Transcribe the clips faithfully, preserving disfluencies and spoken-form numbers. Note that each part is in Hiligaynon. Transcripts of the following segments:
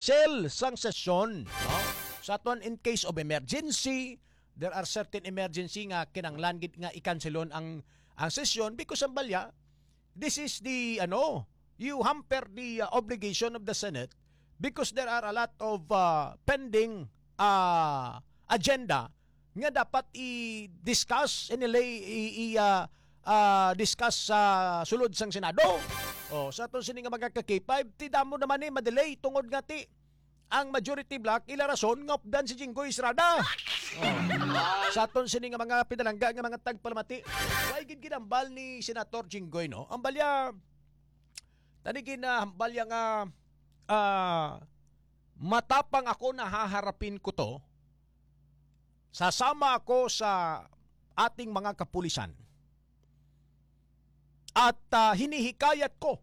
cancel sang sesyon, no? Sa aton, in case of emergency, there are certain emergency nga kinahanglan gid nga i-cancelon ang, ang sesyon because ang balya, this is the, ano, you hamper the, uh, obligation of the Senate because there are a lot of, uh, pending, uh, agenda nga dapat i-discuss, inilay, i, i, ah, ah, discuss sa sulod sang Senado. O, sa aton sini nga mga ka-K five, ti damo naman ni madelay tungod nga ti ang majority bloc ila rason nga updan si Jinggoy Estrada. O, sa aton sini nga mga pinalangga nga mga tagpalamati, way gid ginambal ni Senator Jinggoy, no? Ang balya, tani ginahambal niya nga, ah, matapang ako, nahaharapin ko to. Sasama ako sa ating mga kapulisan. At, ah, hinihikayat ko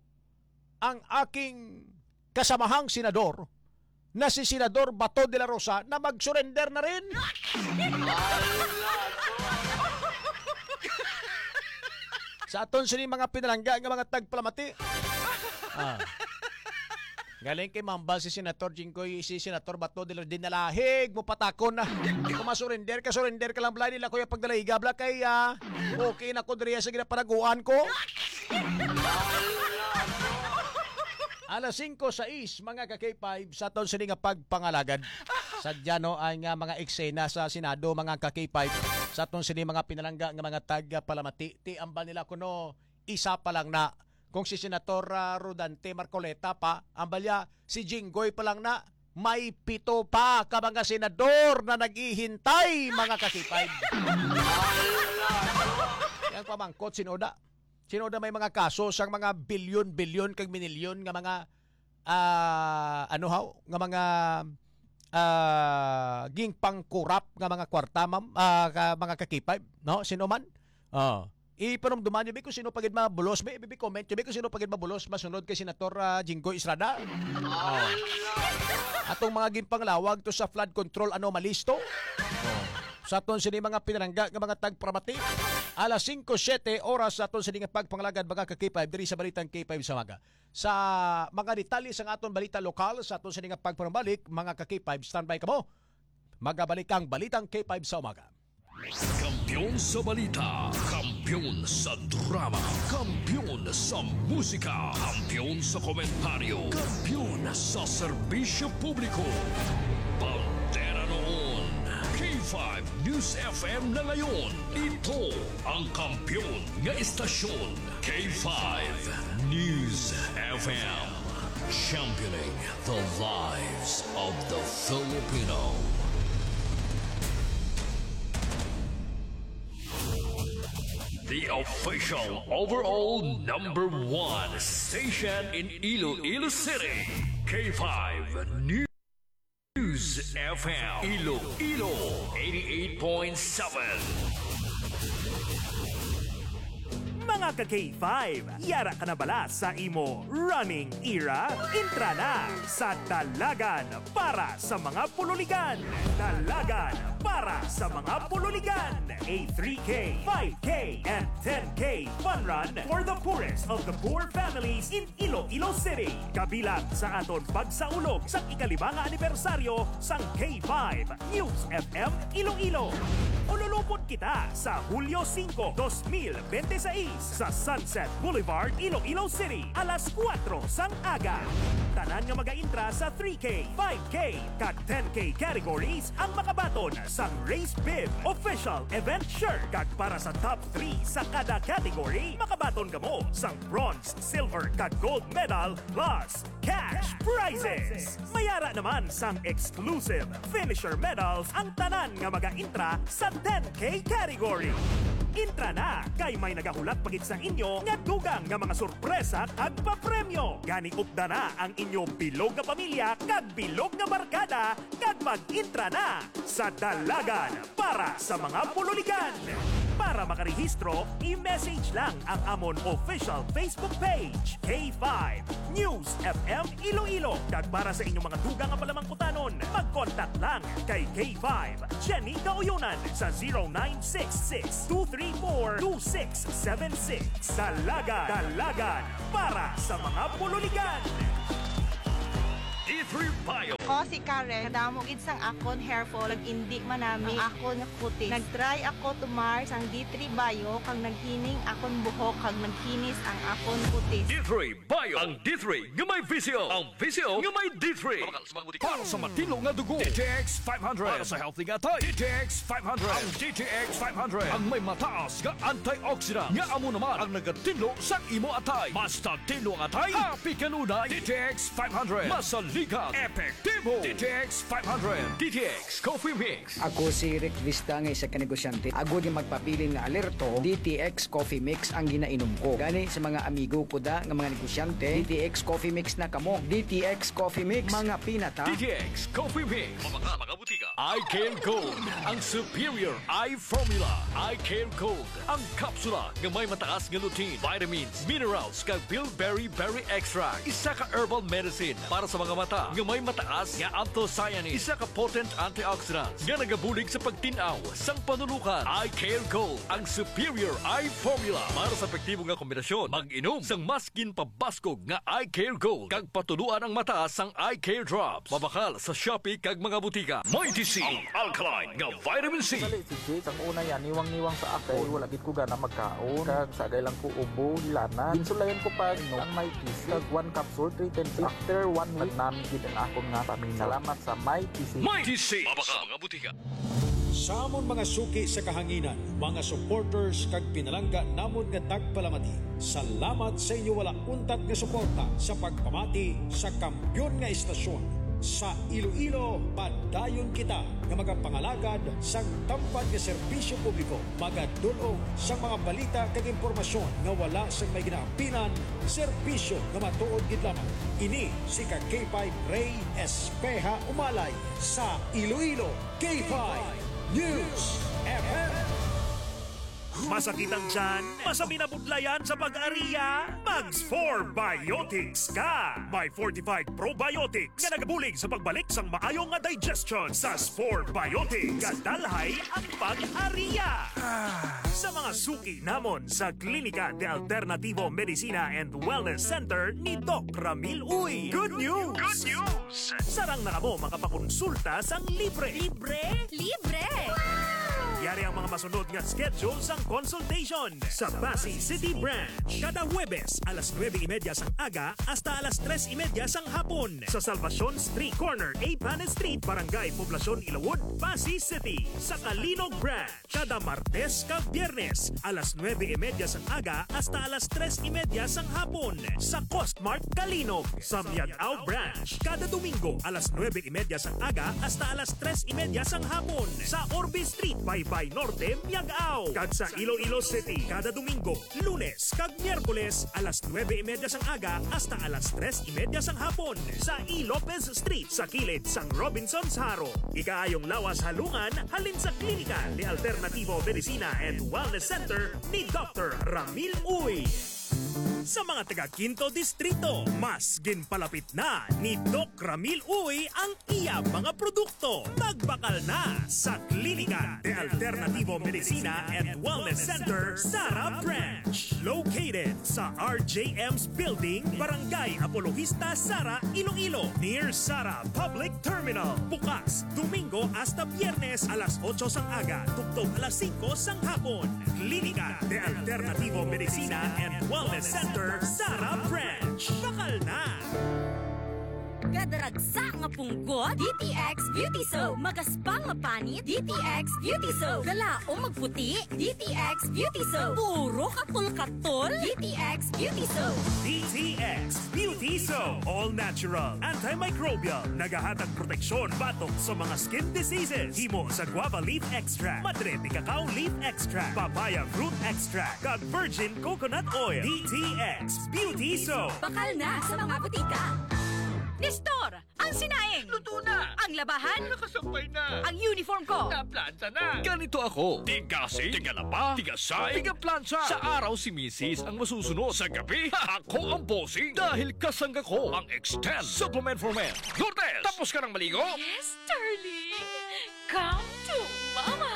ang aking kasamahang senador na si Senador Bato de la Rosa na mag-surrender na rin. Sa aton sini mga pinalangga nga mga tagpalamati. Ah. Galing kay mambal si Senator Jinggoy, si Senator Bato de la, dinalahig mo patakon na. Kung masurrender ka, surrender ka lang, bla, nila kuya pagdalahiga, bla, kay, ah, okay na ko diriya sa ginapanaguan ko. Alas singko sais, mga ka-K five, sa aton sini nga pagpangalagad. Sadya, no, ang, ah, mga eksena sa Senado, mga ka-K five, sa aton sini mga pinalangga nga mga tagpalamati, ti ambal nila kuno isa pa lang na. Kung si Senator, ah, Rodante Marcoleta pa, ang balya, si Jinggoy pa lang na, may pito pa ka mga senador na naghihintay, mga ka-K five. Yang pamangkot, sino da? Sino da may mga kaso sang mga bilyon-bilyon kag minilyon nga mga, ah, ano haw? Nga mga, ah, gingpangkurap nga mga kwarta, ma'am, ah, ka, mga ka-K five, no? Sino man? Oh. Ipanumduman niyo, bi, kung sino pa gid mabulos, bi, bi, comment niyo, bi, kung sino pa gid mabulos, masunod kay Senator, ah, Jinggoy Estrada. Oh. Atong mga ginpanglawag to sa flood control anomalies to. Oh. Sa aton sini mga pinalangga nga mga tagpalamati, alas singko siete oras sa aton sini nga pagpangalagad, mga ka-K five, diri sa Balitang K five sa Umaga. Sa mga detalye sa aton balita lokal, sa aton sini nga pagpanumalik, mga ka-K five, standby kamo. Magabalik ang Balitang K five sa Umaga. Kampiyon sa balita, kampiyon sa drama, kampiyon sa musika, kampiyon sa komentaryo, kampiyon sa serbisyo publiko. Bandera noon, K five News F M na ngayon. Ito ang kampiyon nga istasyon, K five News F M. Championing the lives of the Filipino. The official overall number one station in Iloilo City, K five News F M, Iloilo, eighty-eight point seven. Mga ka-K five, yara ka na bala sa imo running era? Intra na sa Dalagan para sa mga Pululigan. Dalagan para sa mga Pululigan. A three K, five K, and ten K fun run for the poorest of the poor families in Iloilo City. Kabilang sa aton pagsaulog sa ikalima nga anibersaryo sang K five News F M Iloilo. Ululupon kita sa Hulyo singko, dos mil bente seis sa Sunset Boulevard, Iloilo City, alas kuwatro sang aga. Tanan nga magaintra sa three K, five K, kag ten K categories ang makabaton sang Race Bib official event shirt, kag para sa top three sa kada category, makabaton kamo sang bronze, silver, kag gold medal plus cash prizes. Mayara naman sang exclusive finisher medals ang tanan nga magaintra sa ten K category. Intra na, kay may nagahulat pa gid sa inyo nga dugang nga mga sorpresa kag papremyo. Gani, upda na ang inyo bilog nga pamilya kag bilog nga barkada, kag mag-intra na sa Dalagan para sa mga Pululigan. Para makarehistro, i-message lang ang amon official Facebook page, K five News F M Iloilo. Kag para sa inyong mga dugang nga palamangkutanon, mag-contact lang kay K five Jenny Kauyonan sa zero nine six six, two three four, two six seven six. Dalagan, Dalagan para sa mga Pululigan. D three Bio. Ako si Karen. Kadamo gid sang akon hair fall, nag-indi manami ang akon kutis. Nag-try ako tumar sang D three Bio, kag naghining akon buhok, kag naghinis ang akon kutis. D three Bio. Ang D three nga may visyo. Ang visyo nga may D three. Para sa matino nga dugo, D T X five hundred. Para sa healthy nga atay, D T X five hundred. Ang D T X five hundred ang may mataas nga antioxidant nga amo naman ang nagatinlo sang imo atay. Mas tinlo ang atay, happy kanunay. D T X five hundred. Masaligan, epektibo. D T X five hundred. D T X Coffee Mix. Ako si Rick Vista nga isa ka negosyante. Agod nga magpabilin nga alerto, D T X Coffee Mix ang ginainom ko. Gani sa mga amigo ko da nga mga negosyante, D T X Coffee Mix na kamo. D T X Coffee Mix, mga pinata. D T X Coffee Mix. Mabakal, mga butika. Eye Care Gold, ang superior eye formula. Eye Care Gold, ang kapsula nga may mataas nga lutein, vitamins, minerals, kag bilberry berry extract. Isa ka herbal medicine para sa mga mata nga may mataas nga anthocyanins. Isa ka potent antioxidant nga nagabulig sa pagtin-aw sang panulukan. Eye Care Gold, ang superior eye formula para sa epektibo nga kombinasyon. Mag-inom sang mas ginpabaskog nga Eye Care Gold kag patuluan ang mata sang Eye Care Drops. Mabakal sa Shopee kag mga butika. Mighty C, ang alkaline nga vitamin C. Dali, si Jake, ang una yan, niwang-niwang sa ako. Wala gid ko gana magkaon. Kag sagay lang ko ubo, hilanat. Ginsulayan ko pa, no, ang may kisi. Kag one capsule, three times. After one week, nami gid ang akon nga pamina. Salamat sa may kisi. Mighty C. Mabakal sa mga butika. Sa amon mga suki sa kahanginan, mga supporters kag pinalangga namon nga tagpalamati, salamat sa inyo wala untat nga suporta sa pagpamati sa kampiyon nga estasyon. Sa Iloilo, padayon kita nga magapangalagad sang tampad nga serbisyo publiko, magadul-ong sang mga balita kag impormasyon nga wala sang may ginaampinan, serbisyo nga matuod gid lamang. Ini si ka K five Ray Espeha Umalay sa Iloilo. K five News F M. Masakit ang tiyan? Masabi na budlayan sa pag-ariya? Mag Spore Biotics ka! May fortified probiotics nga nagabulig sa pagbalik sang maayo nga digestion. Sa Spore Biotics, gadalhay ang pag-ariya. Ah, sa mga suki namon sa Klinika de Alternativo Medicina and Wellness Center ni Doc Ramil Uy. Good news! Good news! Sarang na kamo makapakonsulta sang libre. Libre? Libre! Yari ang mga masunod nga schedule sang consultation. Sa Passi City Branch, kada Huwebes, alas nuebe y media sang aga hasta alas tres y media sang hapon. Sa Salvacion Street, corner Eighth Planet Street, Barangay Poblacion, Ilawod, Passi City. Sa Calinog Branch, kada Martes kag Biyernes, alas nuebe y media sang aga hasta alas tres y media sang hapon, sa Costmart Calinog. Sa Miag-ao Branch, kada Domingo, alas nuebe y media sang aga hasta alas tres y media sang hapon, sa Orbe Street, Baybay Norte, Miag-ao. Kag sa Iloilo City, kada Domingo, Lunes, kag Miyerkules, alas nuebe y media sang aga hasta alas tres y media sang hapon, sa E. Lopez Street, sa kilid sang Robinsons Jaro. Ikaayong lawas halungan halin sa Klinika de Alternativo Medicina and Wellness Center ni Doctor Ramil Uy. Sa mga taga Quinto Distrito, mas ginpalapit na ni Doc Ramil Uy ang iya mga produkto. Magbakal na sa Klinika de Alternativo Medicina and Wellness Center, Sara Branch. Located sa R J M's Building, Barangay Apologista, Sara, Iloilo, near Sara Public Terminal. Bukas Domingo hasta Biyernes, alas otso sang aga tubtob alas singko sang hapon. Klinika de Alternativo Medicina and Wellness Center, Sara Branch. Bakal na! Gadaragsa nga punggot, D T X Beauty Soap. Magaspa nga panit, D T X Beauty Soap. Galaom magputi, D T X Beauty Soap. Puro katol-katol, D T X Beauty Soap. D T X Beauty Soap. All natural, antimicrobial. Nagahatag proteksyon batok sa mga skin diseases. Himo sa guava leaf extract, madre de cacao leaf extract, papaya fruit extract, kag virgin coconut oil. D T X Beauty Soap. Bakal na sa mga butika. Nestor, ang sinaing. Luto na. Ang labahan. Nakasampay na. Ang uniform ko. Naplansa na. Ganito ako. Tigasig, tigalaba, tigasay, tigaplansa. Sa araw si misis ang masusunod. Sa gabi, ako ang bossing. Dahil kasangga ko ang Extend Supplement for Men. Lourdes, tapos ka nang maligo? Yes, darling. Welcome to Mama!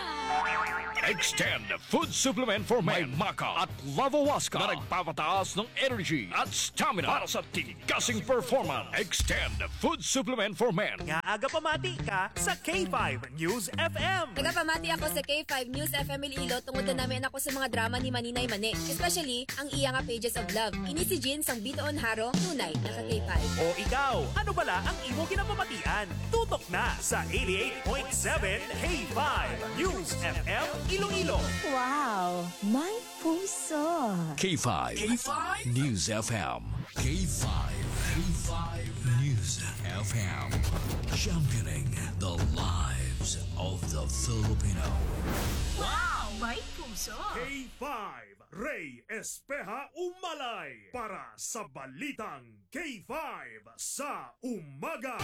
Extend Food Supplement for Men, Maka at Lavo Waska na nagpapataas ng energy at stamina para sa titikasing performance. Extend Food Supplement for Men. Nga aga pamati ka sa K five News F M. Nagapamati ako sa K five News F M Iloilo tungod na namin ako sa mga drama ni Maninay Mani, especially ang iya nga Pages of Love. Ini si Jin sang Bitoon Haro, tunay na ka K five. O ikaw, ano bala ang imo ginapamatian? Tutok na sa eighty-eight point seven K five News F M Iloilo. Wow, may puso. K five K five News F M. K five, K five News F M. Championing the lives of the Filipino. Wow, may puso. K five, Ray Espeha Umalay para sa Balitang K five sa Umaga.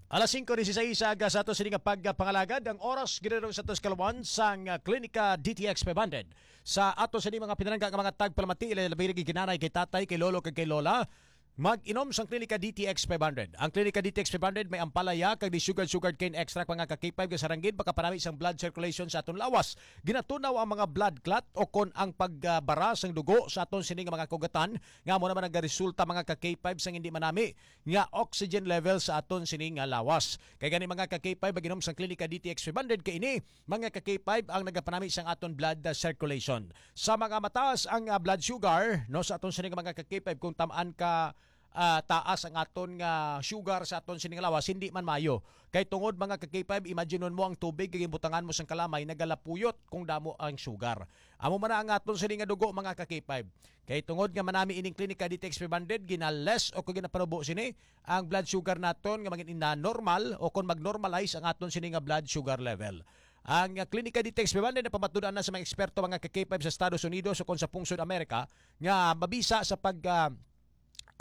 Alas singko dieciséis sa aga sa ato sini nga pagpangalagad. Ang oras ginadong sa atos kalawan sang, ah, Klinika D T X five hundred. Sa ato sini mga pinalangga nga mga tagpalamati, labi na gid kay nanay, kay tatay, kay lolo, kag kay lola, mag-inom sang Klinika D T X five hundred. Ang Klinika D T X five hundred may ampalaya kag di sugar, sugar cane extract, mga ka-K five, nga sarang gid makapanami sang blood circulation sa aton lawas. Ginatunaw ang mga blood clot o kon ang pagbara sang dugo sa aton sini nga mga kaugatan nga amo naman nagaresulta, mga ka-K five, sang hindi manami nga oxygen level sa aton sini nga lawas. Kay gani, mga ka-K five, mag-inom sang Klinika D T X five hundred kay ini, mga ka-K five, ang nagapanami sang aton blood, ah, circulation. Sa mga mataas ang, ah, blood sugar, no, sa aton sini nga mga ka-K five, kung tamaan ka, ah, taas ang aton nga sugar sa aton sini nga lawas, hindi man maayo. Kay tungod, mga ka-K five, imaginon mo ang tubig nga ginbutangan mo sang kalamay, nagalapuyot kung damo ang sugar. Amo man na ang aton sini nga dugo, mga ka-K five. Kay tungod nga manami ining Klinika D T X five hundred, ginales o kung ginapanubo sini ang blood sugar naton nga maging na normal o kung mag-normalize ang aton sini nga blood sugar level. Ang, ah, Klinika D T X five hundred napamatud-an na sa mga eksperto, mga ka-K five, sa Estados Unidos o kung sa pungsod Amerika nga mabisa sa pag, ah,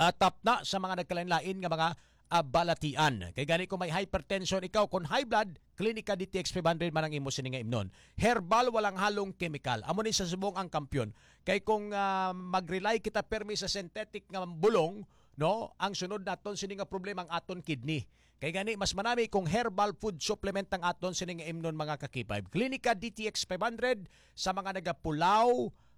ah, tapna sa mga nagkalain-lain nga mga, ah, balatian. Kay gani, kung may hypertension ikaw, kung high blood, Klinika D T X five hundred man ang imo sini nga imnon. Herbal, walang halong kemikal. Amo ni sa subong ang kampiyon. Kay kung, ah, mag-rely kita permi sa synthetic nga bulong, no, ang sunod naton sini nga problema ang aton kidney. Kay gani, mas manami kung herbal food supplement ang aton sini nga imnon, mga ka-K five. Klinika D T X five hundred sa mga nagapulaw,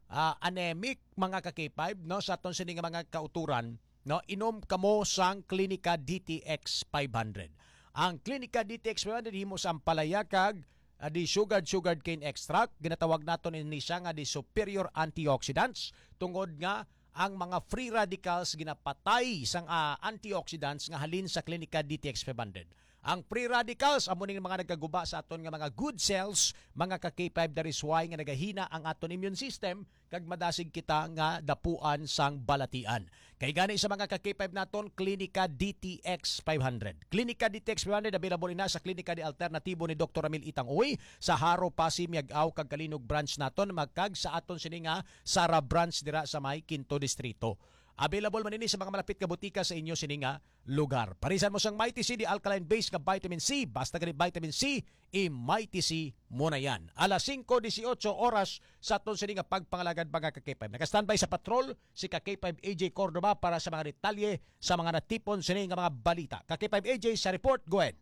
ah, anemic, mga ka-K five, no, sa aton sini nga mga kauturan, no, inom kamo sang Klinika D T X five hundred. Ang Klinika D T X five hundred himo sa ampalaya kag, ah, di sugared, sugared cane extract. Ginatawag naton ini siya nga di superior antioxidants tungod nga ang mga free radicals ginapatay sang, ah, antioxidants nga halin sa Klinika D T X five hundred. Ang free radicals amo ning mga nagaguba sa aton nga mga good cells, mga ka-K five, that is why nga nagahina ang aton immune system kag madasig kita nga dapuan sang balatian. Kay gani sa mga ka-K five naton, Klinika D T X five hundred. Klinika D T X five hundred available ina sa Klinika de Alternatibo ni Doktor Ramil Itang Uy sa Jaro, Passi, Miag-ao kag Calinog branch naton, magkag sa aton sini nga Sara branch dira sa may Quinto Distrito. Available man ini sa mga malapit nga butika sa inyo sini nga lugar. Parisan mo sang Mighty C, the alkaline base nga vitamin C. Basta gani vitamin C, i-Mighty C mo na yan. Alas singko dieciocho oras sa aton sini nga pagpangalagad, mga ka-K five. Naka-standby sa patrol si ka-K five A J Cordova para sa mga detalye sa mga natipon sini nga mga balita. Ka-K five A J sa report. Go ahead.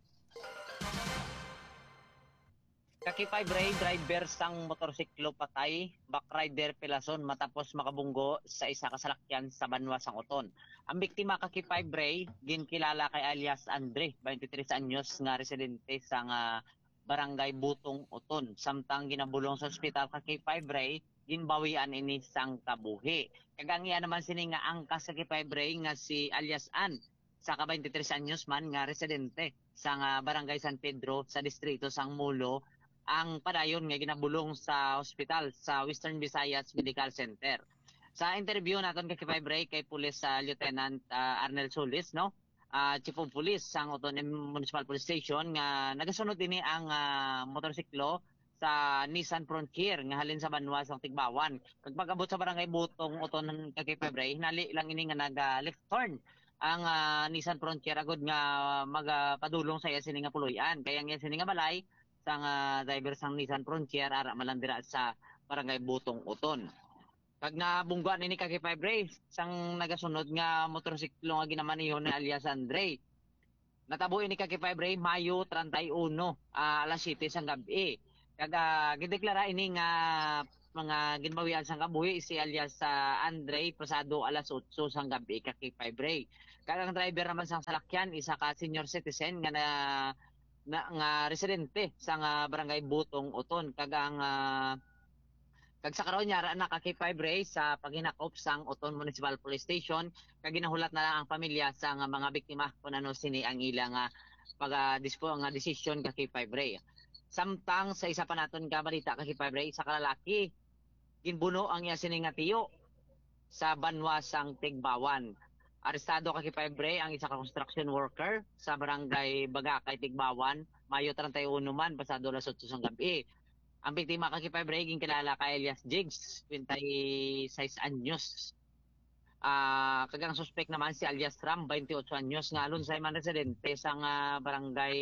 Ka-K five Ray, driver sang motorsiklo patay, backrider pilason matapos makabunggo sa isa ka salakyan sa banwa sang Oton. Ang biktima, ka-K five Ray, ginkilala kay alias Andre, twenty-three anyos, nga residente sang, ah, Barangay Butong, Oton. Samtang ginabulong sa ospital, ka-K five Ray, ginbawian ini sang kabuhi. Kag ang iya naman sini nga angkas, ka-K five Ray, nga si alias Ann, sa ka twenty-three anyos man nga residente sang, ah, Barangay San Pedro sa distrito sang Molo, ang padayon nga ginabulong sa ospital sa Western Visayas Medical Center. Sa interview naton, ka-K five Ray, kay Police, ah, Lieutenant, ah, Arnel Solis, no? Ah, Chief of Police sang Oton Municipal Police Station, nga nagasunod ini ang, ah, motorsiklo sa Nissan Frontier nga halin sa banwa sang Tigbauan. Kag pag-abot sa Barangay Butong, Oton, ka-K five Ray, hinali lang ini nga naga-left turn ang, ah, Nissan Frontier agud nga magapadulong sa iya sini nga puloy-an. Kay ang iya sini nga balay sang, ah, driver sang Nissan Frontier, ara man lang dira sa Barangay Butong, Oton. Kag nabungguan ini, ka-K five Ray, sang nagasunod nga motorsiklo nga ginamaneho ni alias Andre. Natabo ini ka K five Ray, Mayo treinta y uno, ah, alas siyete sang gab-i. Kag, ah, gideklara ini nga mga ginbawian sang kabuhi si alias, ah, Andre pasado alas otso sang gab-i ka K five Ray. Kag ang driver naman sang salakyan, isa ka senior citizen nga na, na, nga residente sang, ah, barangay Butong Oton. Kag ang, ah, kag sa karon, yara na ka K five Ray sa paghinakop sang Oton Municipal Police Station, kag ginahulat na lang ang pamilya sang mga biktima kung ano sini ang ila nga pag, ah, dispo-, nga desisyon ka K five Ray. Samtang sa isa pa naton ka balita ka K five Ray, isa ka lalaki, ginbuno ang iya sini nga tiyo sa banwa sang Tigbawan. Arestado ka K five Ray ang isa ka construction worker sa barangay Bagakay, Tigbawan, Mayo treinta y uno man, pasado alas otso sang gab-i. Ang biktima ka K five Ray ginkilala kay alias Jigs, twenty-six anyos. Ah, kag ang suspek naman si alias Ram, twenty-eight anyos, nga alunsay man residente sang, ah, barangay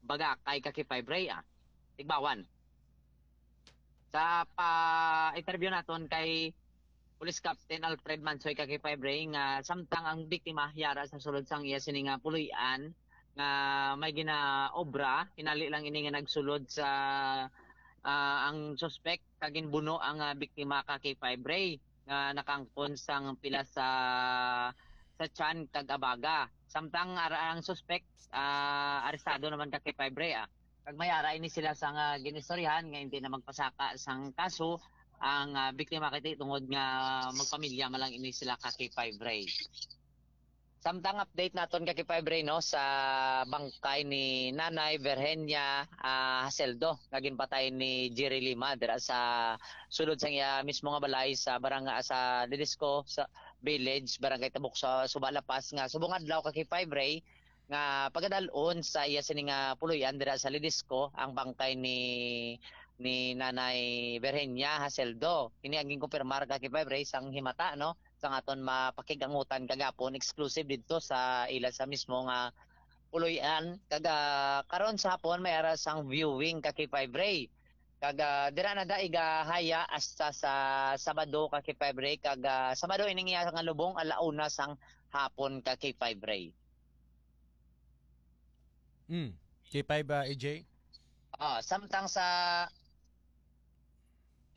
Bagakay ka K five Ray, ah, Tigbawan. Sa pa-interview naton kay Police Captain Alfred Mansoy ka K five Ray nga samtang ang biktima yara sa sulod sang iya sini nga puloy-an nga may ginaobra, hinali lang ini nga nagsulod sa, ah, ang suspek kag ginbuno ang, ah, biktima ka K five Ray nga nakangkon sang pila sa, sa tiyan kag abaga. Samtang ara ang suspek, ah, arestado naman ka K five Ray, ah. Kag may ara ini sila sang, ah, ginistoryahan nga hindi na magpasaka sang kaso ang, ah, biktima kay tungod nga magpamilya man lang ini sila ka K five Ray. Samtang update naton ka K five Ray, no, sa bangkay ni Nanay Virginia, ah, Haseldo nga ginpatay ni Jerry Lima dira sa sulod sang iya mismo nga balay sa barang-, sa Ledesco sa Village, Barangay Tabuk sa Suba, La Paz, nga subong adlaw ka K five Ray nga pagadalon sa iya sini nga puloy-an dira sa Ledesco ang bangkay ni, ni Nanay Virginia Haseldo. Kini ang ginkumpirmar ka K five Ray sang himata, no, sang aton mapakig-angutan kagapon, exclusive didto sa ila sa mismo nga puloy-an. Kag, ah, karon sa hapon may ara sang viewing ka K five Ray. Kag, ah, dira na da igahaya hasta sa Sabado ka K five Ray. Kag, ah, Sabado ining iya nga lubong, ala una sang hapon ka K five Ray. Mm. K five, ah, A J? Ah, samtang sa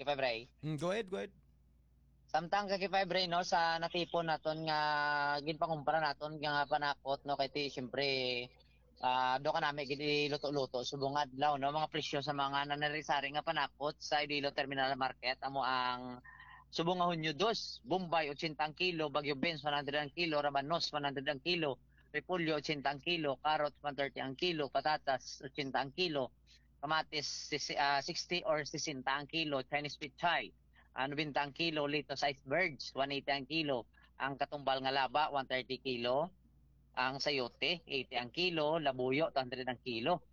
K five Ray. Mm, go ahead, go ahead. Samtang ka K five Ray, no, sa natipon naton nga ginpangumpra naton nga panakot, no, kay ti, siyempre, ah, do ka nami gid iluto-luto subong adlaw, no, mga presyo sa mga nanari-sari nga panakot sa Iloilo Terminal Market, amo ang subong nga Hunyo dos, Bombay, ochenta ang kilo, Bagyo Beans, one hundred ang kilo, Rabanos, one hundred ang kilo, Repolyo, ochenta ang kilo, carrots, one thirty ang kilo, patatas, ochenta ang kilo, kamatis, sisi-, ah, sixty or sesenta ang kilo, Chinese pechay, ah, nobenta ang kilo, litos, icebergs, one eighty ang kilo, ang katumbal nga laba, one thirty kilo, ang sayote, eighty ang kilo, labuyo, two hundred ang kilo.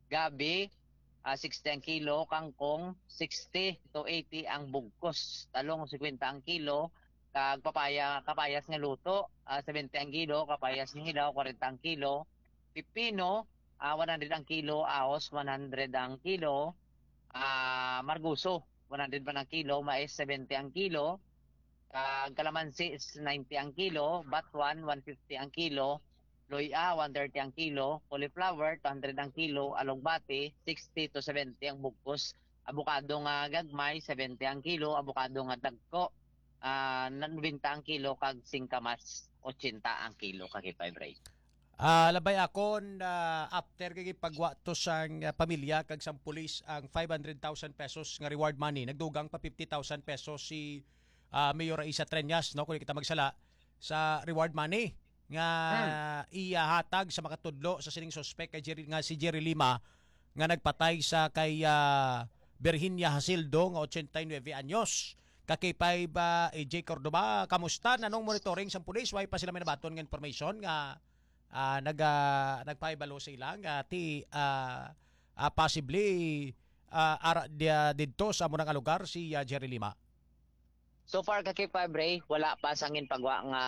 Gabi, ah, sixty ang kilo, kangkong, sixty to eighty ang bugkos, talong, fifty ang kilo, kag papaya, kapayas nga luto, ah, seventy ang kilo, kapayas nga hilaw, forty ang kilo, pipino, ah, one hundred ang kilo, ahos, one hundred ang kilo, ah, marguso, one hundred man ang kilo, mais, seventy ang kilo, kag kalamansi is ninety ang kilo, batwan, one fifty ang kilo, luya, one thirty ang kilo, cauliflower, two hundred ang kilo, alugbati, sixty to seventy ang bugkos, abukado nga gagmay, seventy ang kilo, abukado nga dagko, ah, nobenta ang kilo, kag singkamas, ochenta ang kilo, ka K five Ray. Ah, labay akon, ah, after kay pagwa to sang, ah, pamilya kag sang pulis ang five hundred thousand pesos nga reward money, nagdugang pa fifty thousand pesos si, ah, Mayor Raisa Treñas, no, kung di kita magsala, sa reward money nga Hmm. iyahatag sa makatudlo sa sining suspek kay Jerry, nga si Jerry Lima, nga nagpatay sa kay, ah, Virginia Hasildo nga ochenta y nuebe anyos. Ka K five, ah, A J Cordova, kamusta? Nanong monitoring sang pulis? Way pa sila may nabaton nga information nga, ah, nag-, ah, nagpahibalo sa ila nga ti, ah, ah, possibly, ah, ara dia didto sa amo nga lugar si, ah, Jerry Lima? So far, ka K five Ray, wala pa sang ginpagwa nga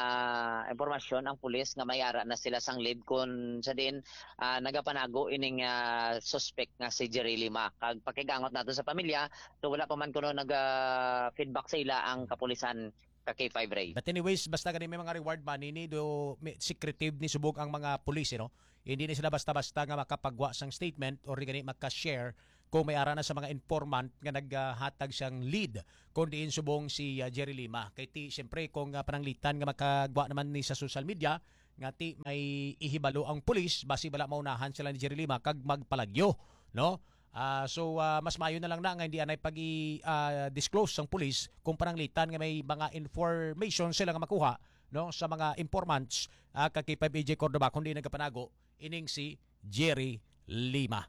impormasyon ang pulis nga may ara na sila sang lead kun sa diin, ah, nagapanago ining, ah, suspect nga si Jerry Lima. Kag pakigangot nato sa pamilya, so wala pa man kuno nag, ah, feedback sa ila ang kapulisan Ka K five Ray. But anyways, basta gani may mga reward money ni do may, secretive ni subog ang mga pulis, you know? Hindi ni sila basta-basta nga makapagwa sang statement or gani maka-share kung may ara na sa mga informant nga naghatag siyang lead, kung diin subong si, ah, Jerry Lima. Kay ti, siyempre, kung, ah, pananglitan nga makagwa naman ni sa social media, nga ti may ihibalo ang pulis, basi bala maunahan sila ni Jerry Lima kag magpalagyo, no? Ah, so, ah, mas maayo na lang na nga hindi anay pag-i-, ah, disclose sang pulis kung pananglitan nga may mga information sila nga makuha, no, sa mga informants, ah, ka K five A J Cordova, kundi nagapanago ining si Jerry Lima.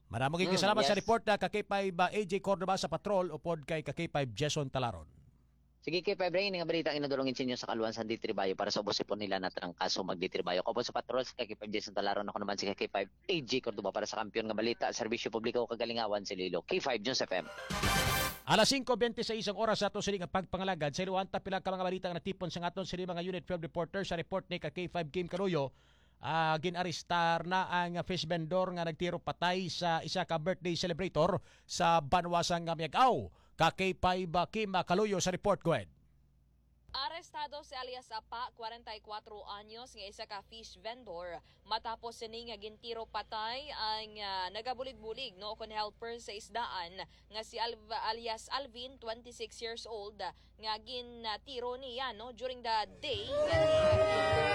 Maramo gid Mm, salamat sa yes. report na ka K five, ah, A J Cordova sa patrol upod kay ka K five Jason Talaron. Sige, K five Ray, nga balita ang inadulong sa inyo sa kaluan sa Ditribayo para sa ubos ipon nila na trangkaso magditribayo. Kaupod sa patrol sa K five Jason Talaron, ako naman si K five A J Cordova para sa Kampiyon nga Balita, Serbisyo Publiko, Kagalingawan sa Iloilo. K five News F M. Alas singko bente seis ang oras sa ato sini nga pagpangalagad. Sa iluwanta pila ka mga balita nga natipon sa aton sini mga Unit twelve reporter sa report ni ka K five Kim Caluyo. Ah, ginarestar na ang fish vendor nga nagtiro patay sa isa ka birthday celebrator sa banwa sang Miag-ao. Ka K five Kim Caluyo sa report. Go ahead. Arestado si alias Apa, kwarenta y kuwatro anyos, nga isa ka fish vendor, matapos sini nga gintiro patay ang, ah, nagabulig-bulig, no, kon helper sa isdaan nga si Alv-, alias Alvin, twenty-six years old, nga gintiro niya, no, during the day nga ni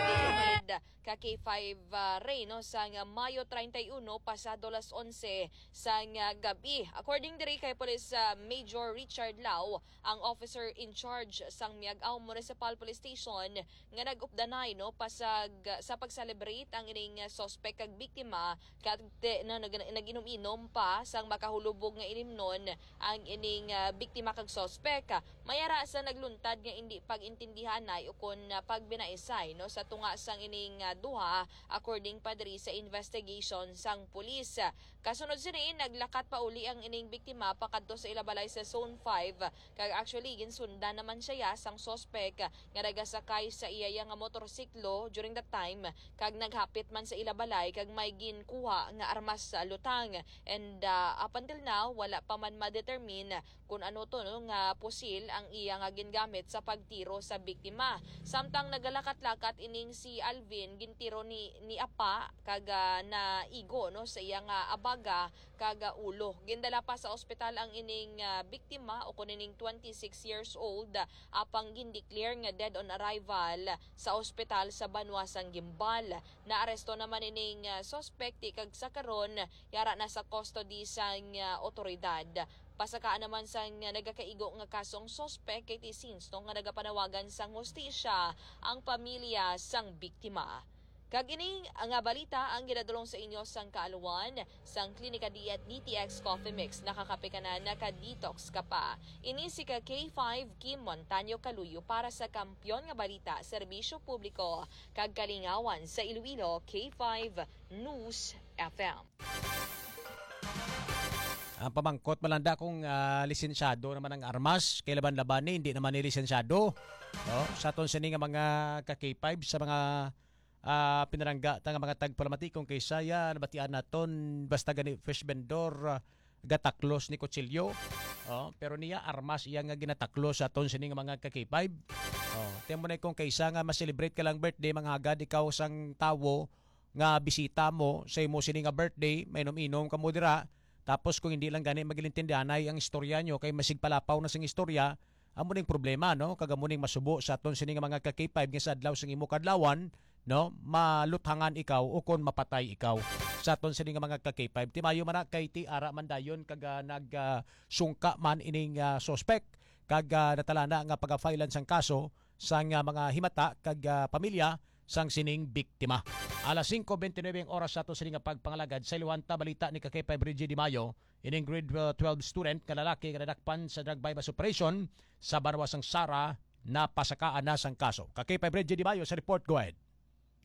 David ka K five, ah, Ray, no, sang Mayo treinta y uno, pasado las onse sang, ah, gabi. According diri kay Police, ah, Major Richard Lau, ang officer in charge sang Miag-ao Municipal Police Station, nga nag-updanay, no, pasag-, sa pag-celebrate ang ining, ah, suspect kag biktima, kag te-, na nag-, nag-inom-inom pa sang makahulubog nga inimnon ang ining, ah, biktima kag suspect. May ara sa nagluntad nga indi pag-intindihanay ukon, ah, pagbinaisay, no, sa tunga sang ining, ah, duha, according pa diri sa investigation sang pulis. Kasunod sini, naglakat pa uli ang ining biktima pakadto sa ila balay sa Zone five, kag actually ginsundan naman siya sang suspek nga nagasakay sa iya nga motorsiklo during that time, kag naghapit man sa ila balay kag may ginkuha nga armas sa lutang. And, ah, up until now, wala pa man ma-determine kun ano to, no, nga pusil ang iya nga gingamit sa pagtiro sa biktima. Samtang nagalakat-lakat ining si Alvin, gintiro ni, ni Apa kag, ah, naigo, no, sa iya nga abaga kag, ah, ulo. Gindala pa sa ospital ang ining, ah, biktima, o kun ining twenty-six years old, ah, apang gindeclare nga dead on arrival sa ospital sa banwa sang Guimbal. Naaresto naman ining, ah, suspect, ti kag sa karon, yara na sa custody sang, ah, otoridad. Pasakaan naman sang nagakaigo nga kaso ang suspek kay ti since no nga nagapanawagan sang hustisya ang pamilya sang biktima. Kag ini nga balita ang ginadulong sa inyo sang kaaluan sang Klinika Diet D T X Coffee Mix. Nakakape ka na, naka-detox ka pa. Ini si ka K five Kim Montaño Kaluyo para sa Kampiyon nga Balita, Serbisyo Publiko, kag Kalingawan sa Iloilo, K five News F M. Ang pamangkot, malanda kung, ah, lisensyado naman ang armas, kay laban-laban ni, hindi naman ni lisensyado. Oh, sa aton sini nga mga ka K five, sa mga, ah, pinalangga ta nga mga tagpalamatikon kay saya, nabatian naton, basta gani fish vendor, ah, gataklos ni kutsilyo. Oh, pero niya, armas iya nga ginataklos sa aton sini nga mga ka K five. Oh, tiyan mo na kung kaysa nga ma-celebrate ka lang birthday, manghagad ikaw sang tawo, nga bisita mo sa imo sini nga birthday, mainom-inom ka mo dira, tapos kung hindi lang gani magilintindihanay ang istorya nyo, kay masigpalapaw na sing istorya, amo ning problema, no? Kag amo ning masubo sa aton sini nga mga ka K five nga sa adlaw sang imo kadlawan, no? Maluthangan ikaw o kon mapatay ikaw sa aton sini nga mga ka K five. Timayo man na kay ti ara man dayon kag, ah, nag, ah, sungka man ining, ah, suspek kag, ah, natalana nga pagafailan sang kaso sang, ah, mga himata kag, ah, pamilya sang sining biktima. Alas singko bente nuebe ang oras sa ato sini nga pagpangalagad. Sa iluwanta balita ni ka K five Reggie Di Mayo, ining grade, uh, twelve student nga lalaki nga nadakpan sa drug buy-bust operation sa banwa sang Sara napasakaan na sang kaso. Ka K five Reggie Di Mayo sa report. Go ahead.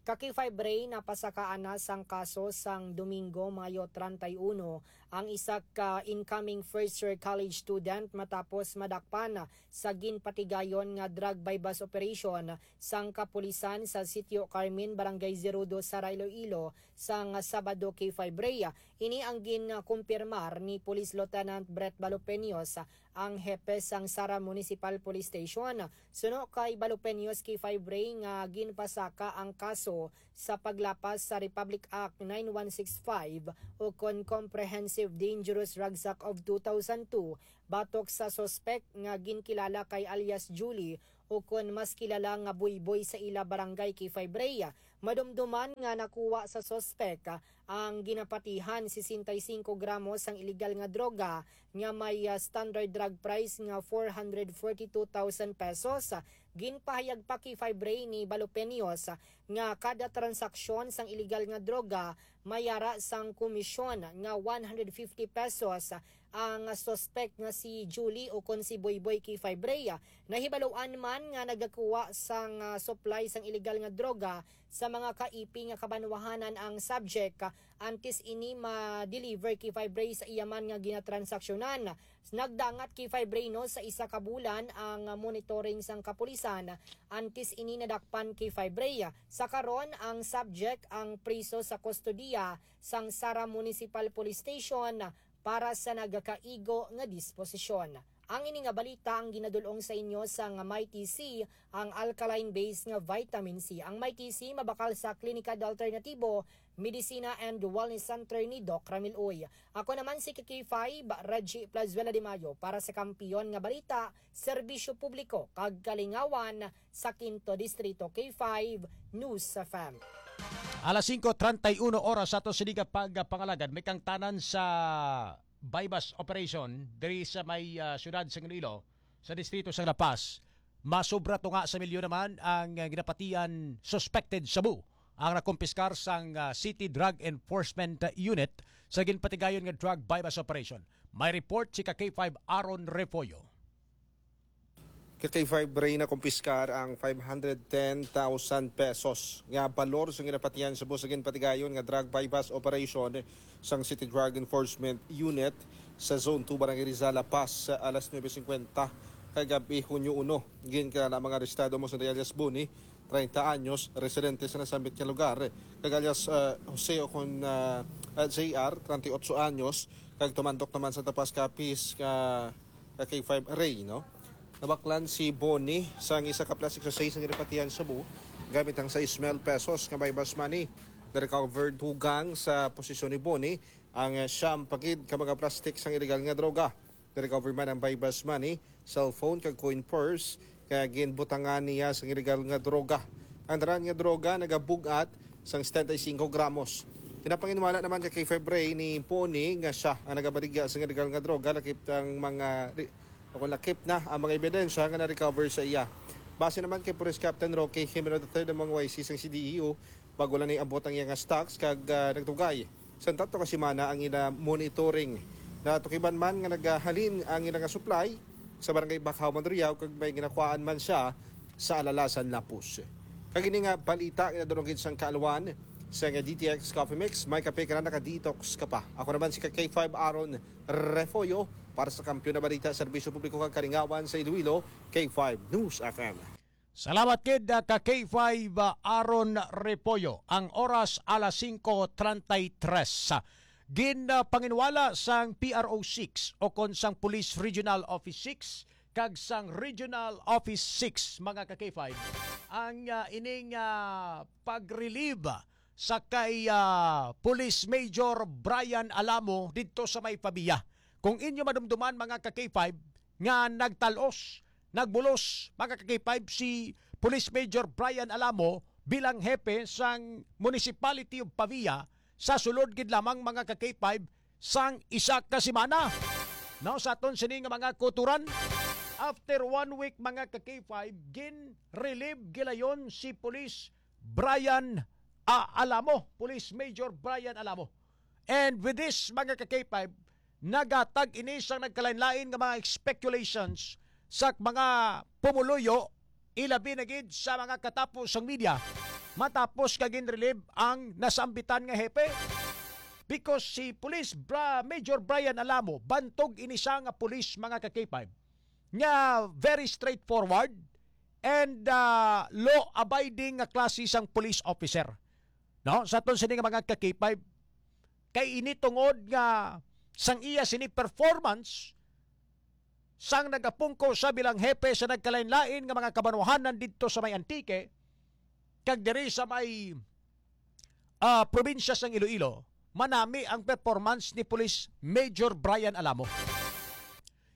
Ka K five Ray, napasakaan na sang kaso sang Domingo, Mayo treinta y uno, ang isa ka incoming first year college student matapos madakpan sa ginpatigayon nga drug buy-bust operation sang kapulisan sa Sitio Carmen, Barangay Zerudo, Sara, Iloilo, sang Sabado, K five Ray. Ini ang ginkumpirmar ni Police Lieutenant Brett Balopeños, ang hepe sang Sara Municipal Police Station. Suno kay Balopeños, K five Ray, nga ginpasaka ang kaso sa paglapas sa Republic Act nine one six five ukon Comprehensive Dangerous Rucksack of two thousand two batok sa suspek nga ginkilala kay alias Julie ukon mas kilala nga Buyboy sa ila barangay, K five Ray. Madumduman nga nakuha sa suspek ang ginapatihan sesenta y cinco gramos sang iligal nga droga nga may, ah, standard drug price nga four hundred forty-two thousand pesos. Ginpahayag pa, K five Ray, ni Balopeños nga kada transaksyon sang iligal nga droga may ara sang komisyon nga one hundred fifty pesos ang suspek nga si Julie ukon si Boyboy, K five Ray. Nahibaluan man nga nagakuha sang, ah, supply sang iligal nga droga sa mga kaipi nga kabanwahanan ang subject, ah, antes ini ma-deliver, K five Ray, sa iya man nga ginatransaksyonan. Nagdangat, K five Ray, no, sa isa ka bulan ang monitoring sang kapulisan antes ini nadakpan, K five Ray. Sa karon, ang subject ang priso sa kustodiya sang Sara Municipal Police Station para sa nagakaigo nga disposisyon. Ang ini nga balita ang ginadul-ong sa inyo sang Mighty C, ang alkaline base nga vitamin C. Ang Mighty C mabakal sa Klinika de Alternatibo, Medicina and Wellness Center ni Doc Ramil Uy. Ako naman si K five, Reggie Plazuela de Mayo, para sa Kampiyon nga Balita, Serbisyo Publiko kag Kalingawan sa Quinto Distrito, K five News F M. Alas singko treinta y uno oras sa ato sini nga pagpangalagad, may kangtanan sa buy-bust operation diri sa may, ah, siyudad sa Iloilo, sa distrito sa La Paz. Masubra tunga sa milyon naman ang, ah, ginapatian suspected shabu ang nakumpiskar sang, ah, City Drug Enforcement Unit sa ginpatigayon nga drug buy-bust operation. May report si ka K five Aaron Refollo. Ka K five Ray, nakumpiskar ang five hundred ten thousand pesos nga balor sa ginapatian shabu sa ginpatigayon nga drug buy-bust operation sang City Drug Enforcement Unit sa Zone two, Barangay Rizal, La Paz, sa alas nuebe cincuenta kagab-i, Hunyo uno. Ginkilala ang mga arestado mo sa alias Boni, treinta anyos, residente sa nasambit nga lugar, kag alias, ah, Jose o kon, ah, ah, J R, treinta y ocho anyos, kag tumandok naman sa Tapas Capiz, ka ka K five Ray, no? Nabaklan si Boni sang isa ka plastic sachet nga ginapatian shabu gamit ang sais mil pesos nga buy-bust money. Na-recover dugang sa posisyon ni Boni ang, eh, siyam pa gid ka mga plastic sang iligal nga droga. Na-recover man ang buy-bust money, cellphone kag coin purse, kaya ginbutangan niya sang iligal nga droga. Ang dara nga droga nagabug-at sang setenta y cinco gramos. Pinapanginwala naman ka K five Ray ni Poni nga siya ang nagabaligya sa illegal nga droga, lakip ang mga ri-, o kung lakip na ang mga ebidensya nga na-recover sa iya. Base naman kay Police Captain Roque Jimeno the third, ang mga Y C sang C D E U, bago lang niabot ang iya nga stocks kag, ah, nagtugay sang tatlo ka semana ang ila monitoring. Natukiban man nga nagahalin ang ila nga supply sa Barangay Bacau, Monreal, kag may ginakuhaan man siya sa Alalasan, Lapuz. Kag ini nga balita ginadulong gid sang kaalwan sa nga D T X Coffee Mix, may kape ka na, naka-detox ka pa. Ako naman si ka K five Aaron Refollo para sa Kampiyon na Balita, Serbisyo Publiko kag Kalingawan sa Iloilo, K five News F M. Salamat gid, ah, ka K five, ah, Aaron Repollo. Ang oras alas singko treinta y tres. Gin, ah, panginwala sang P R O six o kon sang Police Regional Office six kag sang Regional Office six, mga ka K five, ang, ah, ining, ah, pag-relieve sa kay, ah, Police Major Brian Alamo didto sa may Pavia. Kung inyo madumduman, mga ka K five, nga nagtalos, nagbulos, mga ka K five, si Police Major Brian Alamo bilang hepe sang Municipality of Pavia sa sulod gid lamang, mga ka K five, sang isa ka semana. Now, sa aton sini nga mga kuturan, after one week, mga ka K five, gin-relieve gilayon si Police Brian, ah, Alamo, Police Major Brian Alamo. And with this, mga ka K five, nagatag ini sang nagkalain-lain nga mga speculations sa mga pumuluyo, ilabi na gid sa mga katapo sang media, matapos ka gin-relieve ang nasambitan nga hepe. Because si Police Bra-, Major Brian Alamo, bantog ini siya nga police, mga ka K five, nga very straightforward and, ah, law-abiding nga klase sang police officer. No? Sa aton sini nga mga ka K five, kay ini tungod nga sang iya sini performance, sang nagapungko siya bilang hepe sa nagkalain-lain nga mga kabanwahanan didto sa may Antique, kag diri sa may, ah, probinsya sang Iloilo, manami ang performance ni Police Major Brian Alamo.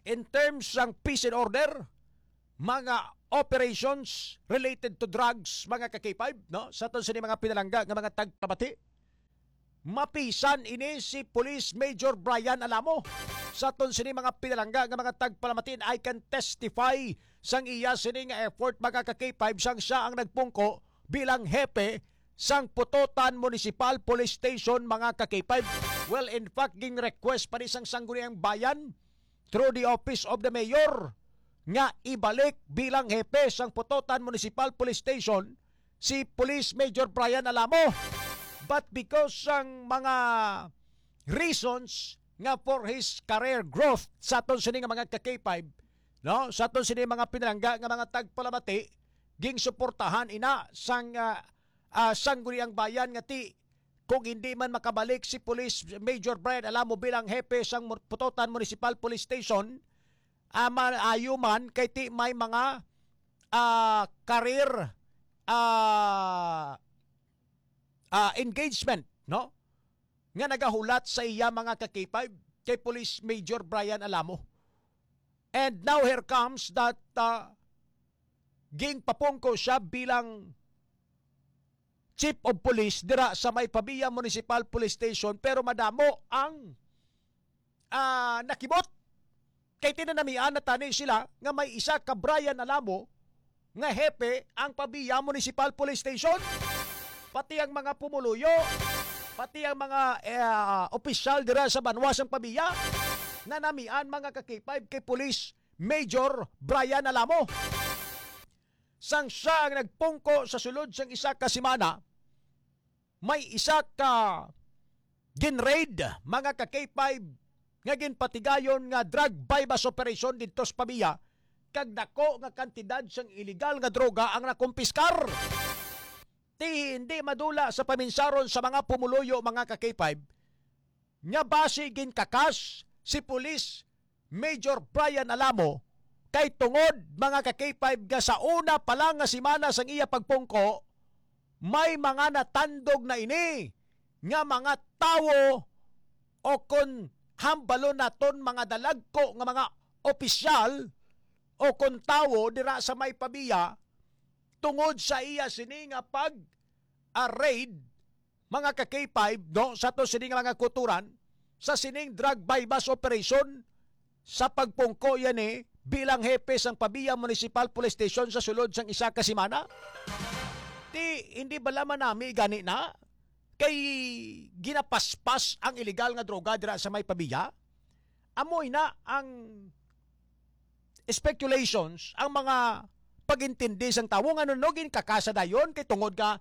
In terms sang peace and order, mga operations related to drugs, mga ka-K five, no? Sa aton sini mga pinalangga nga mga tagpamati, mapisan ini si Police Major Brian Alamo. Sa aton sini mga pinalangga nga mga tagpalamatin, I can testify sang iya sini nga effort, mga ka-K five, sang siya ang nagpungko bilang hepe sang Pototan Municipal Police Station, mga ka-K five. Well, in fact, ging request pa ni sang Sangguniang Bayan through the office of the mayor nga ibalik bilang hepe sang Pototan Municipal Police Station si Police Major Brian Alamo. But because sang mga reasons nga for his career growth sa aton sini nga mga ka-K five, no? Sa aton sini mga pinalangga nga mga tagpalamati, ging suportahan ina sang, ah, ah, Sangguniang Bayan nga ti kung hindi man makabalik si Police Major Brian Alamo bilang hepe sang Mur-, Pototan Municipal Police Station, ah, maayo man kay ti may mga, ah, career, ah, ah, engagement, no? Nga nagahulat sa iya mga ka-K five kay Police Major Brian Alamo. And now here comes that, ah, ging papungko siya bilang chief of police dira sa may Pavia Municipal Police Station, pero madamo ang, ah, nakibot. Kay tinanamian na tani sila nga may isa ka Brian Alamo nga hepe ang Pavia Municipal Police Station. Pati ang mga pumuluyo, pati ang mga, eh, ah, opisyal dira sa banwa sang Pavia, nanamian, mga ka-K five, kay Police Major Brian Alamo. Sang siya ang nagpungko sa sulod sang isa ka semana, may isa ka ginraid, mga ka-K five, nga ginpatigayon nga drug buy-bust operation didto sa Pavia, kag dako nga kantidad sang iligal nga droga ang nakumpiskar. Ti hindi madula sa paminsaron sa mga pumuluyo, mga ka-K five, nga basi ginkakas si Police Major Brian Alamo kay tungod, mga ka-K five, nga sa una pa lang nga semana sang iya pagpungko, may mga natandog na ini nga mga tawo o kon hambalon naton mga dalagko nga mga opisyal o kon tawo dira sa may Pavia tungod sa iya sini nga pag, ah, raid, mga ka-K five, no, sa to sini nga mga kuturan, sa sining drug buy-bust operation, sa pagpungko yan, eh, bilang hepe sang Pavia Municipal Police Station sa sulod sang isa ka semana? Ti, hindi bala manami gani na? Kay ginapaspas ang iligal nga droga dira sa may Pavia? Amoy na ang speculations, ang mga pag-intindi sang tawo nga no, no, ginkakasa dayon kay tungod nga,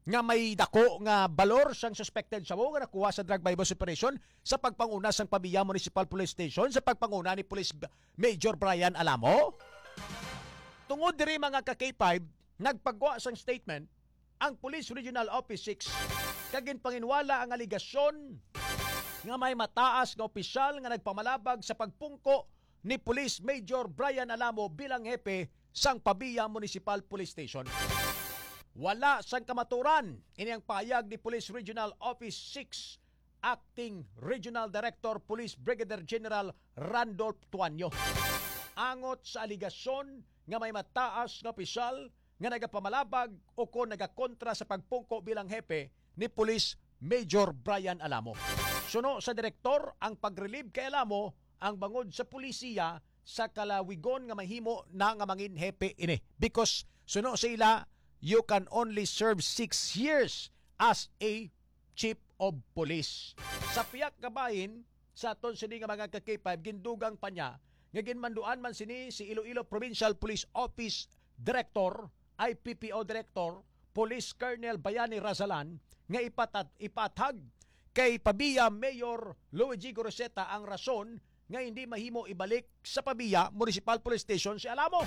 nga may dako nga balor sang suspected shawo nga nakuha sa drug buy-bust operation sa pagpanguna sang Pavia Municipal Police Station sa pagpanguna ni Police B-, Major Brian Alamo. Tungod diri, mga ka-K five, nagpagwa sang statement ang Police Regional Office six kag ginpanginwala ang aligasyon nga may mataas nga opisyal nga nagpamalabag sa pagpungko ni Police Major Brian Alamo bilang hepe sang Pavia Municipal Police Station. Wala sang kamaturan ini ang pahayag ni Police Regional Office six Acting Regional Director Police Brigadier General Randolph Tuanyo angot sa aligasyon nga may mataas nga opisyal nga nagapamalabag o kon nagakontra sa pagpungko bilang hepe ni Police Major Brian Alamo. Suno sa direktor, ang pag-relieve kay Alamo ang bangod sa pulisiya sa kalawigon nga mahimo na nga mangin hepe ini. Because suno sa ila, you can only serve six years as a chief of police. Sa pihak nga bahin, sa aton sini nga mga ka-K five, gindugang pa niya nga ginmanduan man sini si Iloilo Provincial Police Office Director, I P P O Director, Police Colonel Bayani Razalan, nga ipatat-, ipaathag kay Pavia Mayor Luigi Goroseta ang rason nga hindi mahimo ibalik sa Pavia Municipal Police Station si Alamo.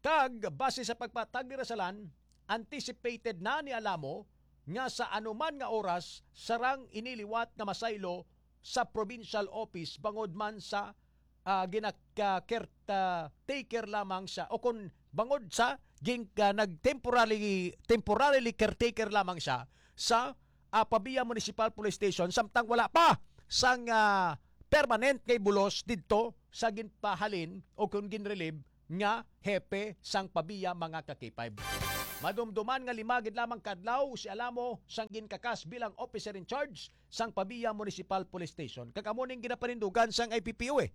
Kag base sa pagpatag ni Rasalan, anticipated na ni Alamo nga sa anuman nga oras sarang ini liwat nga masaylo sa provincial office bangod man sa ah, gina-, ka-, caretaker lamang siya, o kung bangod sa gin-, ah, nag-temporarily, temporarily caretaker lamang siya sa, ah, Pavia Municipal Police Station, samtang wala pa sang, ah, permanent kay bulos didto sa ginpahalin o kung ginrelieve nga hepe sang Pavia, mga ka-K five. Madumduman nga lima gid lamang ka adlaw si Alamo sang ginkakas bilang officer in charge sang Pavia Municipal Police Station. Kag amo ning ginapanindugan sang I P P O A,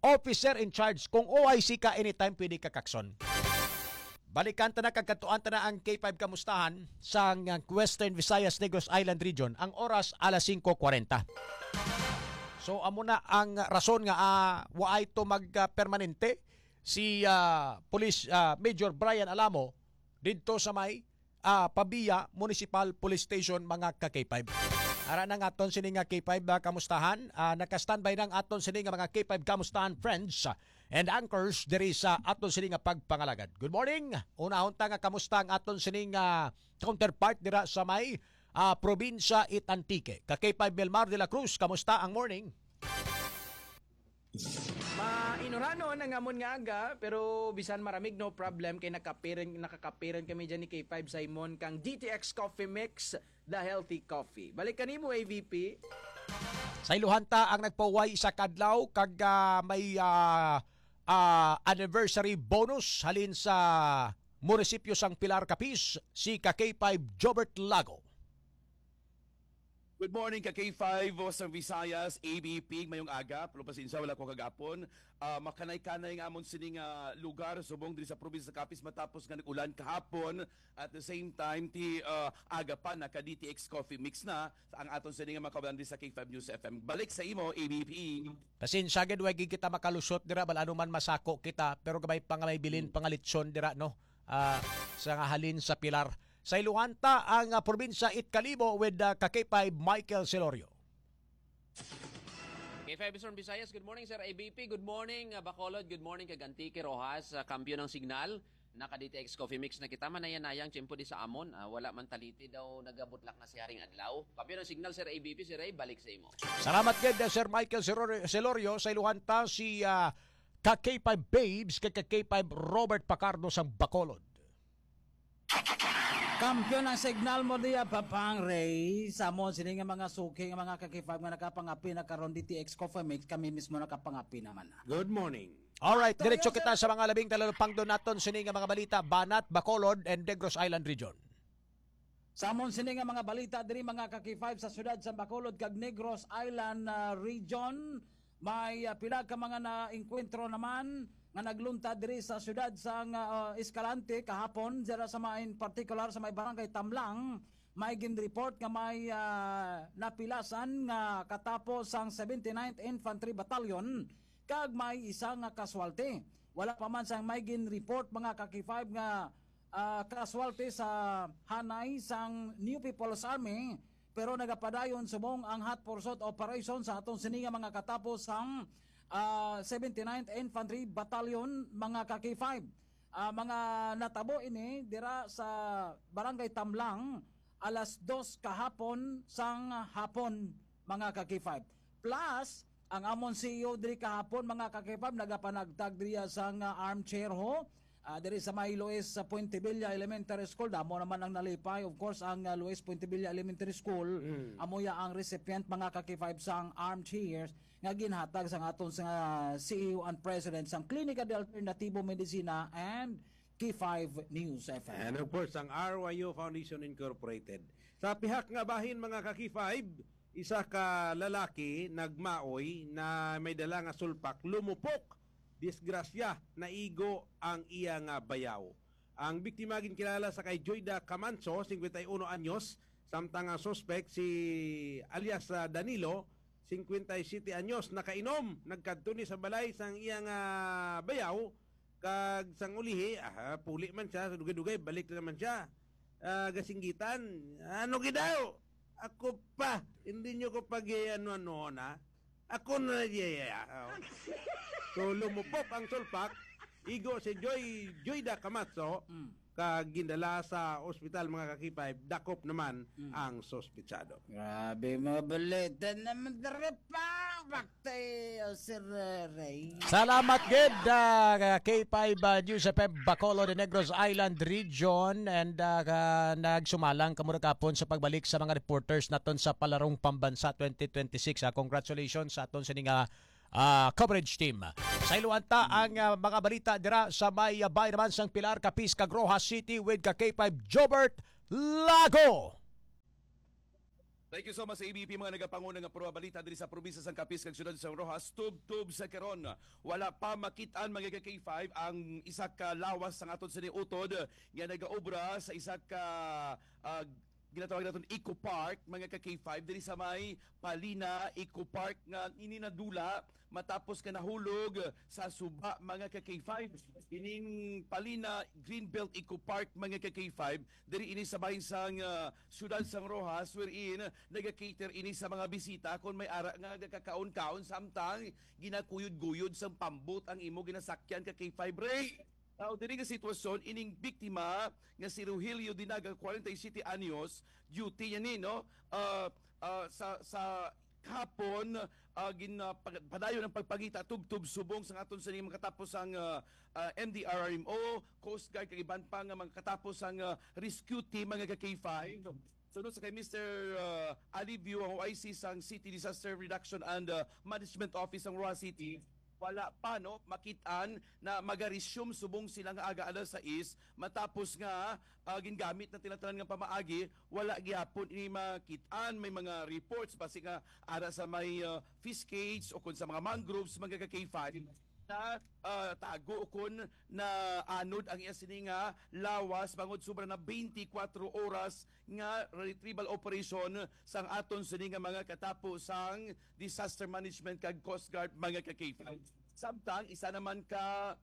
officer in charge. Kung O I C ka, anytime pwede ka kakson. Balikan ta na kag kadtuan ta na ang K five Kamustahan sang Western Visayas, Negros Island Region. Ang oras, alas singko kwarenta. So, amo na ang rason nga, ah, waay to mag, ah, permanente si, ah, Police, ah, Major Brian Alamo didto sa may, ah, Pavia Municipal Police Station, mga ka-K five. Ara na nga aton sini nga K five, ah, Kamustahan. Ah, naka-standby na ang aton sini nga mga K five Kamustahan friends, ah, and anchors diri sa aton sini nga pagpangalagad. Good morning. Unahon ta nga kamusta ang aton sini nga counterpart dira sa may, ah, probinsya it Antique. Ka K five Melmar de la Cruz, kamusta ang morning? Mainuranon ang amon nga aga, pero bisan maramig, no problem, kay nakapiran, nakakapiran kami dyan ni K five Simon kang D T X Coffee Mix, the healthy coffee. Balik kanimo, A V P. Sa iluhan ta ang nagpauway isa ka adlaw kag, ah, may, ah, ah, anniversary bonus halin sa munisipyo sang Pilar, Capiz, si ka K five Jobert Lago. Good morning, ka K five, Western Visayas, A B P, mayong aga. Pero pasensya, wala ko kagapon. Ah, makanay-kanay nga amon sining, ah, lugar, subong diri sa probinsya sa Capiz, matapos nga nag-ulan kahapon. At the same time, ti, ah, aga pa, naka D T X Coffee Mix na ang aton sining nga mga kabayan diri sa K five News F M. Balik sa imo, A B P. Pasensya gid, way gid kita makalusot dira, bal ano man masako kita, pero gamay pa nga may bilin, mm, pangalitson dira, no? Ah, sa nga halin sa Pilar. Sa iluhan ta ang, ah, probinsya it Kalibo with, ah, ka K five Michael Celorio. K five Eastern Visayas, good morning, Sir A B P. Good morning, ah, Bacolod. Good morning, kag Antique, Roxas, ah, kampiyon ang signal. Naka D T X Coffee Mix na kita. Manaya-nayang tiyempo di sa amon. Ah, wala man taliti daw nagabutlak na si Haring Adlaw. Kampiyon ang signal, Sir A B P, Sir Ray, balik sa imo. Salamat gid, ah, Sir Michael Celorio. Celorio. Sa iluhan ta si, ah, ka K five Babes, kag ka K five Robert Pacardo sang Bacolod. Kampiyon ang signal mo diya, Papang Ray. Sa mo, sini nga mga suki, nga mga ka K five nga nakapangapi na karon D T X Coffee Mix, kami mismo nakapangapi naman na. Good morning. Alright, Ito diretso yun, kita sir. Sa mga labing talupangdo naton sini nga mga balita, Banat, Bacolod, and Negros Island Region. Sa amon sini nga mga balita diri, mga ka K five, sa siyudad sa Bacolod kag Negros Island, ah, Region, may, ah, pila ka mga naengkwentro naman nga nagluntad diri sa siyudad sang, ah, Escalante kahapon, dira sa may, in particular sa may barangay Tamlang, may ginreport nga may, ah, napilasan nga katapo sang seventy-ninth Infantry Battalion kag may isa nga casualty. Wala pa man sang may ginreport, mga ka K five, nga ah, casualty sa hanay sang New People's Army, pero nagapadayon subong ang hot pursuit operation sa aton sini nga mga katapo sang, ah, seventy-ninth Infantry Battalion, mga ka K five. Ah, mga natabo ini dira sa Barangay Tamlang, alas dos kahapon sang hapon, mga ka K five. Plus, ang amon C E O diri kahapon, mga ka K five, nagapanagtag diriya sang, ah, armchair ho, ah, diri sa may Luis, sa Puentevilla Elementary School. Damo naman ang nalipay. Of course, ang, ah, Luis Puentevilla Elementary School, Mm. amo ya ang recipient, mga ka K five, sang armchairs nga ginhatag sang aton sa C E O and President sang Klinika de Alternativo Medicina and K five News F M. And of course, ang R Y U Foundation Incorporated. Sa pihak nga bahin, mga ka K five, isa ka lalaki nagmaoy na may dala nga sulpak, lumupok. Disgrasya, naigo ang iya nga bayaw. Ang biktima ginkilala sa kay Joyda Camanso, singkwenta y uno anyos, samtang ang suspek si alias, ah, Danilo, singkwenta y siyete anyos, nakainom. Nagkadto ni sa balay sang iya nga bayaw, kag sang ulihi, ah, puli man siya, dugay-dugay, balik na naman siya. Ah, gasinggitan, "Ano gid daw? Ako pa, hindi nyo ko pag-ano-ano na. Ako na, yeah, yeah, yeah." Oh. So, lumupok ang sulpak, igo si Joy, Joyda Camanso, Mm. ah, gindala sa ospital, mga ka-K five, dakop naman Mm. ang suspetsado. Grabe, mga balita naman diri pa. Back to you, Sir Ray. Salamat gid, ah, K five, ah, News F M Bacolod, the Negros Island Region, and, ah, ka-, nagsumalang kamo ra kapon sa pagbalik sa mga reporters naton sa Palarong Pambansa twenty twenty-six. Ah, congratulations sa aton sini nga, ah, coverage team. Sa iluan ta ang, ah, mga balita dira sa may, ah, bayan naman sang Pilar, Capiz, kag Roxas City with ka K five Jobert Lago. Thank you so much sa A B P, mga nagapanguna nga pruha balita diri sa probinsya sang Capiz kag siyudad sang Roxas. Tubtob sa karon, wala pa makit-an, mga ka K five, ang isa ka lawas sang aton sini utod nga nagaobra sa isa ka, ah, ginatawag naton Eco Park, mga ka K five, diri sa may Palina Eco Park nga ini nadula matapos ka nahulog sa suba, mga ka K five. Ining Palina Greenbelt Eco Park, mga ka K five, diri ini sa bahin sang, ah, siyudad sang Roxas, wherein nagakater ini sa mga bisita kon may ara nga gakakaon-kaon samtang ginakuyod-guyod sang pambot ang imo ginasakyan, ka K five Ray. Now, diri nga sitwasyon, ining biktima nga si Rogelio Dinaga, forty-seven anyos, duty niya ni, no? Ah, ah, sa, sa hapon, ah, gin, ah, pag-, padayon ang pagpangita tubtob subong sa aton sa mga katapos ang, ah, ah, M D R R M O, Coast Guard, kag iban pa nga mga katapos ang, ah, rescue team, mga ka K five. Sunod sa kay Mister, ah, Alivio, ang O I C sang City Disaster Reduction and, ah, Management Office sang Roxas City, wala pa, no, makit-an na magaresume subong sila nga aga alas sais, matapos nga, ah, gingamit na tinatanan nga pamaagi, wala gihapon ini makit-an. May mga reports basi nga ara sa may, ah, fish cage o kun sa mga mangroves, mga ka K five, na, ah, tago o kun na anod ang iya sini nga lawas bangod sobra na twenty-four oras nga retrieval operation sang aton sini nga mga katapo sang disaster management kag Coast Guard, mga ka K five. Samtang isa naman ka